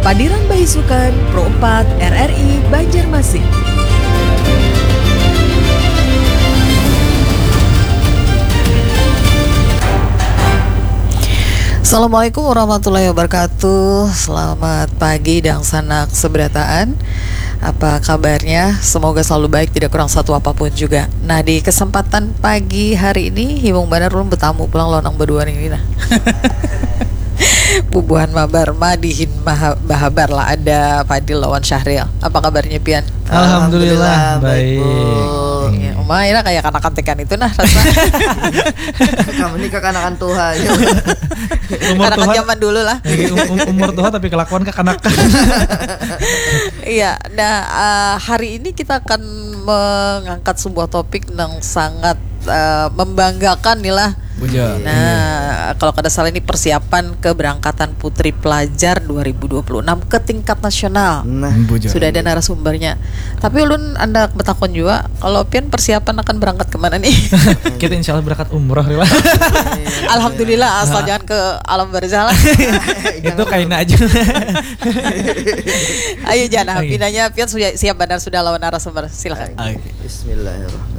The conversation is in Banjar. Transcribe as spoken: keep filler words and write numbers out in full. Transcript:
Padiran Baisukan, Pro empat, R R I, Banjarmasin. Assalamualaikum warahmatullahi wabarakatuh. Selamat pagi, dangsanak seberataan. Apa kabarnya? Semoga selalu baik, tidak kurang satu apapun juga. Nah, di kesempatan pagi hari ini, himung banar ulun betamu pulang lawan nang badua ini, nah. Bubuhan mabar madihin maha-, bahabar lah, ada Fadil lawan Syahril. Apa kabarnya pian? Alhamdulillah, Alhamdulillah, baik, baik. Bu. Ya, uma ini kayak kanakan tekan itu nah rasa. Kamu ini kekanakan tuha ya. Umur Kanakan tuha, zaman dulu lah. eh, um- um- umur tuha tapi kelakuan kekanakan. Iya, nah, eh, hari ini kita akan mengangkat sebuah topik yang sangat eh, membanggakan nih lah. Bujur. Nah, kalau kada salah ini persiapan keberangkatan putri pelajar dua ribu dua puluh enam ke tingkat nasional. Nah, Bujur. Sudah ada narasumbernya. Tapi ulun anda betakon juga, kalau pian persiapan akan berangkat kemana nih? Kita insya Allah berangkat umroh lah. Alhamdulillah, asal jangan ke alam barzah lah. Itu kaina aja. Ayo Jana, Oke. pinanya pian sudah siap banar sudah lawan narasumber. Silakan. Oke. Bismillahirrahmanirrahim.